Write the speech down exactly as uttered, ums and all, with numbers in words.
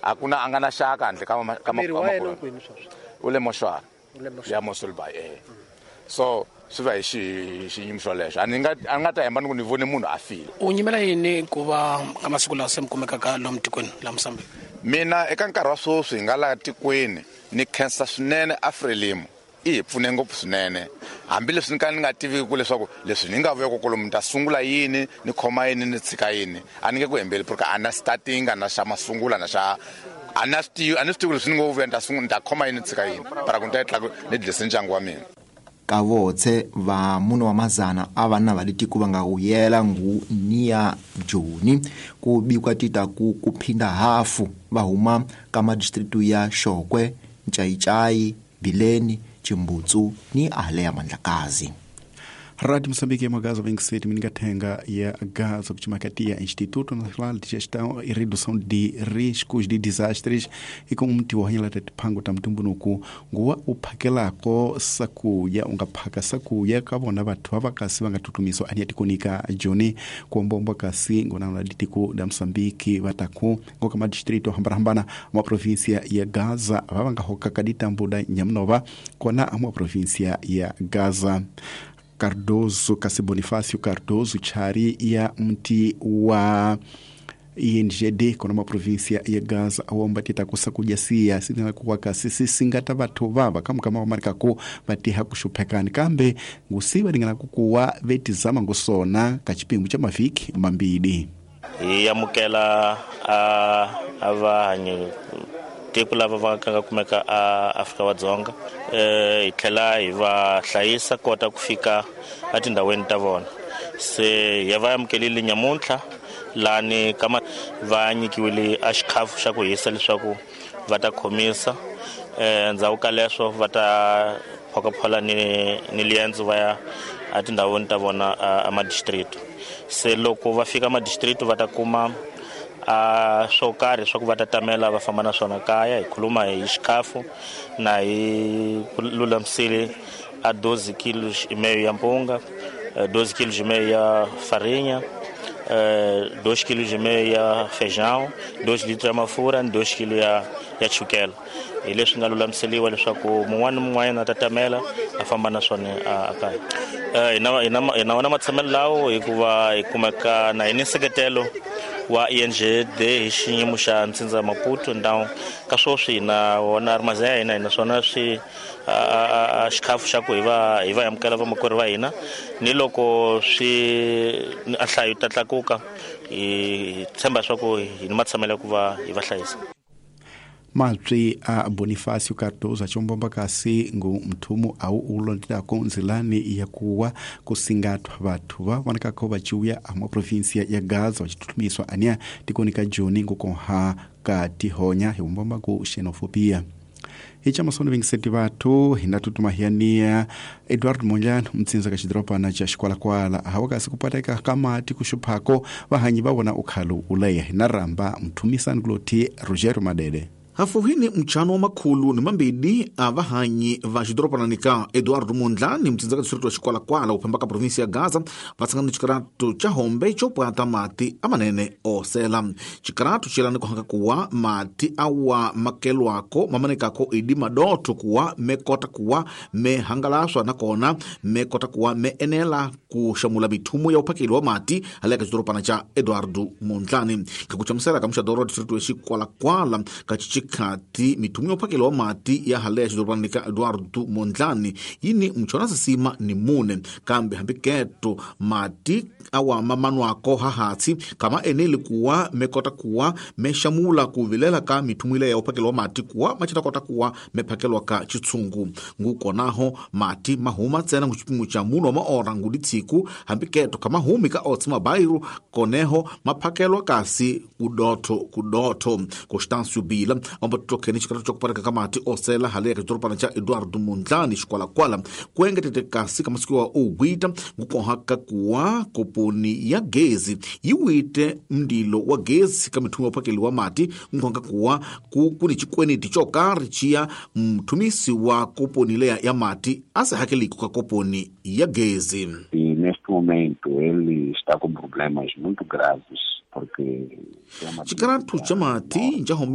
A ku na a nga na xaka handle ka ka u le moxwara ya Mosulbai eh. So swi va hi xi xiyimo xolexo. A ni nga a nga ta hemba ni ku ni vone munhu a file. U nyimela yini ku va ka masiku lawa se mi kumekaka lomu tikweni la Mozambique? Mina eka nkarhi wa sweswi hi nga laha tikweni ni khensa swinene Afrelimo. I hi pfune ngopfu swinene hambileswi ni ka ni nga tiviki ku leswaku leswi ni nga vuya kolomu ni ta sungula yini ni khoma yini ni tshika yini a ni nge ku hembeli porque a na starting a na xa masungula na xa a na swi tivi a ni swi tivi leswi ni ngo vuya ni ta sungula ni ta khoma yini ni tshika yini para ku ni ta tla ni dlise ndyangu wa mina. Kavotse va mune wa mazana a vanna va le tiko va nga wuyela ngu niya Joni ku bikwa tita ku kuphinda hafu va huma ka madistritu ya Xokwe, Nchayichayi, Bileni, Chimbutsu ni ale ya Mandlakazi. Rádio Moçambique ya Gaza vinte e sete mingathenga ya Gaza kuchimakatia Instituto Nacional de Gestão e Redução de Riscos de Desastres e com mti wa hanyela tatipango ta mtumbunuku nguwa uphakelako sakuya ungaphaka sakuya ka vona vathu va kasi va nga tutumiswa ania tikonika Joni kuombomba kasi ngona la ditiko da Moçambique vataku ngoka madistrito hambarahambana ma província ya Gaza va va nga hokaka ditambu da Nhamnova kona ma província ya Gaza. Cardoso, kasi Bonifácio Cardoso, chari ya mti wa I N G D kona ma província ya Gaza awomba tita kusakujasia sina kuwa kasi sisingata vathu vava kama kama wamarika ku vatiha kushuphekani kambe ngusiva lingana kukuwa vetizama ngusona kachipingu cha maviki mambili hi amukela a avanyi tiko lava va nga kumeka a Afrika wa Dzonga eh hi tlhela hi va hlayisa kota ku fika etindhawini ta vona se ya va amukelile nyamuntlha lani kama va nyikiwile a xikhafu xa ku hisa leswaku va ta khomisa eh ndzhaku ka leswo va ta phokaphola ni ni liendzo va ya etindhawini ta vona a madistrict se loko va fika madistrict va ta kuma a swo karhi swa ku va ta tamela va famba na swona kaya hi khuluma hi xikhafu na hi lulamisile a doze kilos e meio ya mpunga, doze quilos e meio ya farinha, dois quilos e meio ya feijão, dois litros ya mafurha ni dois quilos ya ya chukela. Hi leswi nga lulamiseliwa leswaku mun'wana ni mun'wanyana a ta tamela a famba na swona a kaya. Hi na hi na hi na wona matshamelo lawo hikuva hi kumeka na hi ni nseketelo wa I N G D hi xiyimo xa Ntsindza Maputo ndhawu ka sweswi na wona armazém ya hina naswona swi a xikhafu xa ku hi va hi va amukela vamakwerhu va hina ni loko swi a nhlayo ta tlakuka hi tshemba swa ku hi ni matshamelo ya ku va hi va hlayisa. Maltri a Bonifácio Cardoso achombomba kasi ngu mthumu au ulondela nzilani ya kuwa kusingatwa vathu va vonakako vaciuya a mwa província ya Gaza vacitutumiswa ania tikoni ka Joni ngukonha ka tihonya hi vumbomba ku xenofobia. Hicha masono vinte e sete vathu hinatutuma hiania Eduardo Mondlane mtsinza ka xidorobana xa Xikwalakwala hawa kasi kupateka ka mati kuxuphako vahanyi va vona ukhalo uleya hinaramba mthumisani kuloti Rogério Madede. Hafuhini mchano wa makhulu ni mambili a vahanyi va xidorobanani ka Eduardo Mondlane mtsinza ka distrito wa Xikwalakwala uphemba ka província ya Gaza va tshangana ni xikaratu xa hombe xo pwata mati amanene osela. Xikaratu xelani ku hanga kuwa mati awa makelwako mamanekako idi madoto kuwa mekota kuwa mehangalaswa nakona mekota kuwa meenela ku xamula mithumu ya uphakeli wa mati hale ka xidorobana xa Eduardo Mondlane. Kakuchamusela ka muxadoro wa distrito wa Xikwalakwala ka kati mithumu ya uphakelo wa mati ya hale ya xidorobana ka Eduardo Mondlane yini mchona sisima ni mune kambe hambi keto mati awa mamanwako hahatsi kama eneli kuwa mekota kuwa meshamula kuvilela ka mithumu ile ya uphakelo wa mati kuwa machita kota kuwa mephakelwa ka chitsungu ngukonaho mati mahuma tsena nguchipingu cha muno wa maora nguditshiku hambi keto kama humi ka otsi mabairu koneho maphakelwa kasi kudotho kudotho Constâncio Bila omba tutokeni xikaratu xa kupareka ka mati osela hale ya xidorobana xa Eduardo Mondlane Xikwalakwala ku engetete kasi ka masiku wa ugwita ngukonhaka kuwa koponi ya gezi yi wite mndilo wa gezi ka mithumu ya uphakeli wa mati ngukonhaka kuwa ku kuni xikweneti xo karhi xiya mthumisi wa koponi leya ya mati a se hakeliko ka koponi ya gezi. E neste momento ele está com problemas muito graves porque xikaratu xa mati xa hombe